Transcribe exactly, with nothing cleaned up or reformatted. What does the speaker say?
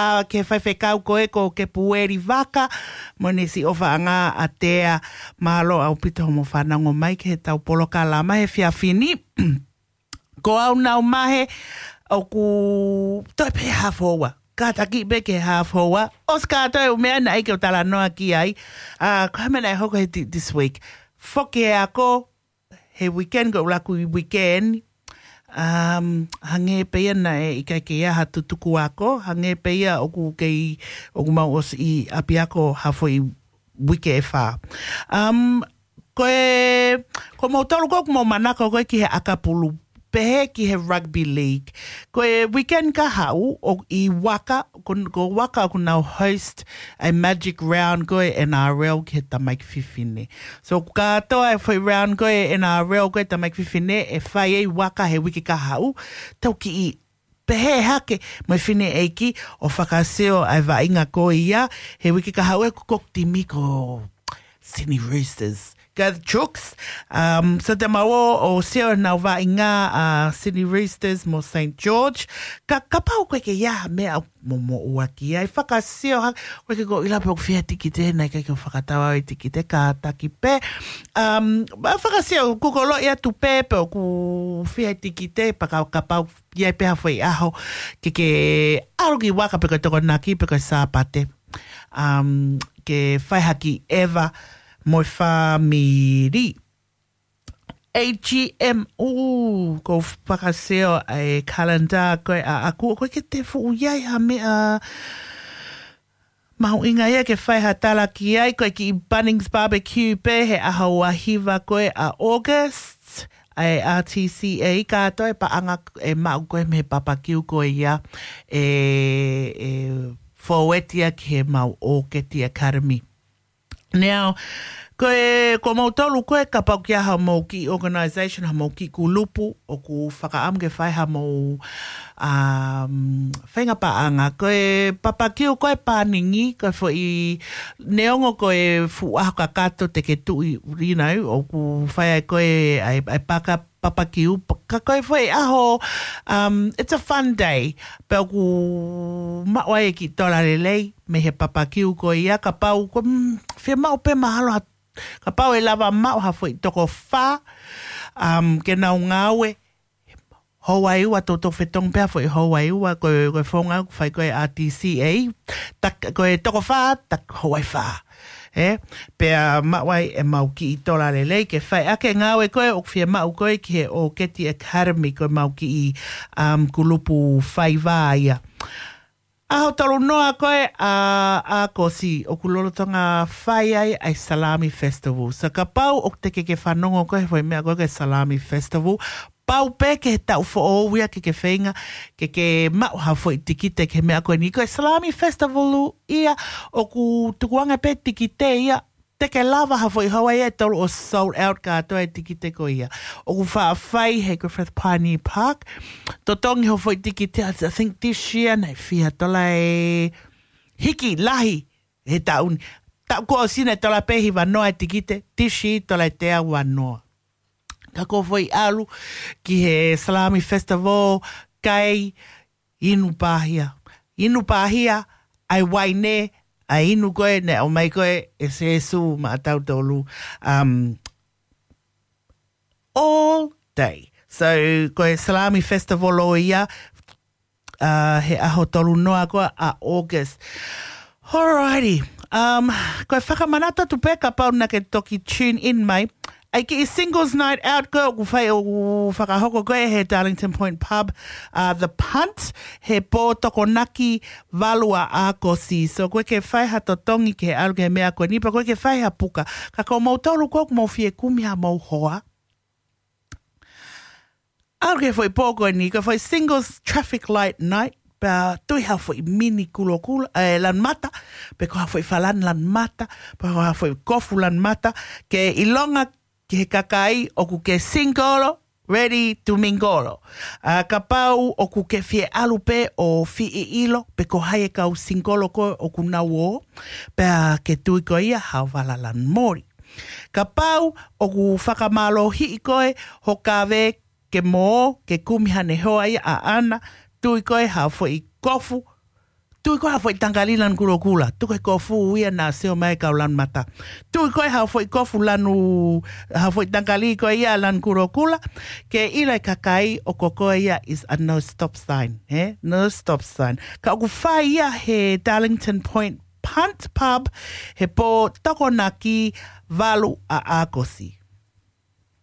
ʻa, ke faifekau ko ē ko Kepueli Vaka, mo ʻene siʻi ʻofaʻanga ʻa Tea. Mālō ʻaupito hoʻomo fanongo mai ki heʻetau polokalama he efiafi ni. Ko au nau mahe, ʻoku toe pē half hour. Kātaki pē ki he half hour. ʻOsi kātoa e ʻū meʻa naʻe ʻikai ke u talanoa ki ai. ʻA, ko e hā e meʻa naʻe hoko he ti-, this week. Foki e ako, he weekend ko e ʻuluaki weekend. Um, hangē pē ia naʻe ʻikai ke ʻi ai ha tutuku ako, hangē pē ia ʻoku kei, ʻoku mau ʻosi ʻi ʻapiako ha foʻi uike ʻe fā. Um, ko e, ko moutolu ko ē ʻoku mou manako ko ē ki he ʻakapulu, pehē ki he rugby league. Ko e weekend ka haʻu ʻoku ʻi Vaka, ko, ko Vaka ʻoku nau host a Magic Round ko e N R L ki he tamaiki fefine. So, kātoa e foʻi round ko e N R L ko e tamaiki fefine, ʻe fai ʻi Vaka he uike ka haʻu, tau kiʻi pehē hake mo e fineʻeiki ʻo fakasio ʻa e vaʻinga ko ia, he uike ka haʻu ʻe ko e timi ko Sydney Roosters. Ka Chooks, um, so te mau ō ʻo sio ʻenau vaʻinga ʻa Sydney Roosters mo Saint George. Ka, kapau ko e ke ia meʻa mo, mo ua ki ai, fakasio ha, ko e ke ko ila pe ʻoku fiha tikite, naʻe ʻikai ke u fakatau au e tikite, kātaki pē. Um, ma fakasio, kukolo ia tu pē, pe ʻoku fiha tikite, pea ka, kapau ia pē ha foʻi ʻaho, ke ke ʻalu ki Vaka pe ko e Tokonaki, pe ko e Sāpate. Um, ke fai ha kiʻi ʻeva mo e fāmili. A G M, ʻū, ko fakasio e calendar ko e ʻaʻaku, ko e ke te fuʻu ia ha meʻa mahuʻinga ia ke fai ha tala ki ai, ko e kiʻi Bunnings Barbecue pē he ʻaho ua hiva ko e ʻa August, ʻa e R T C A, kātoa e paʻanga ʻe maʻu ko e mei he papakiu ko ia, ʻe, ʻe fōuetia ki he mau ʻOketi Academy. Now, ko e, ko moutolu ko e kapau ke ʻi ai ha mau kiʻi organization, ha mau kiʻi kulupu, ʻoku fakaʻamu ke fai ha mau, um, feinga paʻanga. Ko e papakiu ko e pāningi, ko e foʻi neongo ko e fuʻu ʻaho kakato te ke tuʻi, you know, ʻoku fai ai ko e, ʻai, ʻai paka papakiu, pa-, ka ko e foʻi ʻaho, um, it's a fun day. Pea ʻoku maʻu ai e kiʻi tola lelei mei he papakiu ko ia, kapau, ko, mm, fiemaʻu pē mahalo ha, kapau ʻe lava maʻu ha foʻi toko fā, um, ke nau ngāue, houa ʻe ua, toutou fetongi pē ha foʻi houa ʻe ua, ko e, ko e founga ʻoku fai ko e R T C A, tak-, ko e toko fā, tak houa ʻe fā. ʻE, pea maʻu ai e mau kiʻi tola lelei ke fai ʻaki e ngāue ko ē ʻoku fiemaʻu ko ē ki he ʻOketi Academy, ko e mau kiʻi, um, kulupu faiva ia. ʻAho tolu noa ko e ʻa, ʻa ʻAokosi ʻoku lolotonga fai ai ʻa e Salami Festival. So kapau ʻoku te ke ke fanongo ko e foʻi meʻa ko e Salami Festival, pau pē ke he taʻu foʻou ia ke ke feinga ke ke maʻu ha foʻi tikite ki he meʻa ko eni. Ko e Salami Festival ia ʻoku tukuange pē tikite ia, te ke lava ha foʻi houa ia ʻe tolu ʻo sold out kātoa e tikite ko ia. ʻOku faʻa fai he Griffith Pioneer Park. Totongi ho foʻi tikite, I think this year naʻe fiha tola e hiki lahi he taʻu ni. Taʻu kuo ʻosi naʻe tola pē hiva noa e tikite, this year tola ʻe teau ua noa. Ka ko e foʻi ʻalu ki he Salami Festival, kai, inu pāhia. Inu pāhia, ʻai uaine, ʻai inu ko ē, naʻe ʻomai ko ē ʻe Sēsū maʻatautolu, um, all day. So, ko e Salami Festival ʻo ia, uh, he ʻaho tolu noa ko ē ʻa August. Alrighty. Um, ko e fakamanatu atu pē kapau naʻa ke toki tune in mai. ʻAi kiʻi singles night out ko ē ʻoku fai ʻoku fakahoko ko ē he Darlington Point Pub, uh, The Punt, he pō Tokonaki valu ʻa ʻAokosi. So ko e ke fai ha totongi ke ʻalu ki he meʻa ko eni, pea ko e ke fai ha puka. Ka ko moutolu ko ē ʻoku mou fie kumi ha mau hoa, ʻalu ki he foʻi pō ko eni, ko e foʻi singles traffic light night, pea tui ha foʻi mini kulokula, ē, lanumata, pe ko ha foʻi falani lanumata, pe ko ha foʻi kofu lanumata, ke ʻilonga ki he kakai ʻoku ke single, ready to mingle. ʻA, kapau ʻoku ke fie ʻalu pē ʻo fie ʻilo, pe ko hai e kau single ko ē ʻoku nau ō, pea ke tui ko ia ha vala lanu moli. Kapau ʻoku fakamālohiʻi koe ho kaveinga ke mo ō ke kumi haʻane hoa ia ʻaʻana, tui ko ē ha foʻi kofu, Tui koe ha foʻi tangalī lanu kulokula. Tuku e kofu ia naʻa sio mai kau lanu mata. Tui koe ha foʻi kofu lanu, ha foʻi tangalī ko ia lanu kulokula. Ke ʻilo e kakai ʻoku ko ia is a no stop sign. He? No stop sign. Ka ʻoku fai ia he Darlington Point Punt Pub he pō Tokonaki valu ʻa ʻAokosi.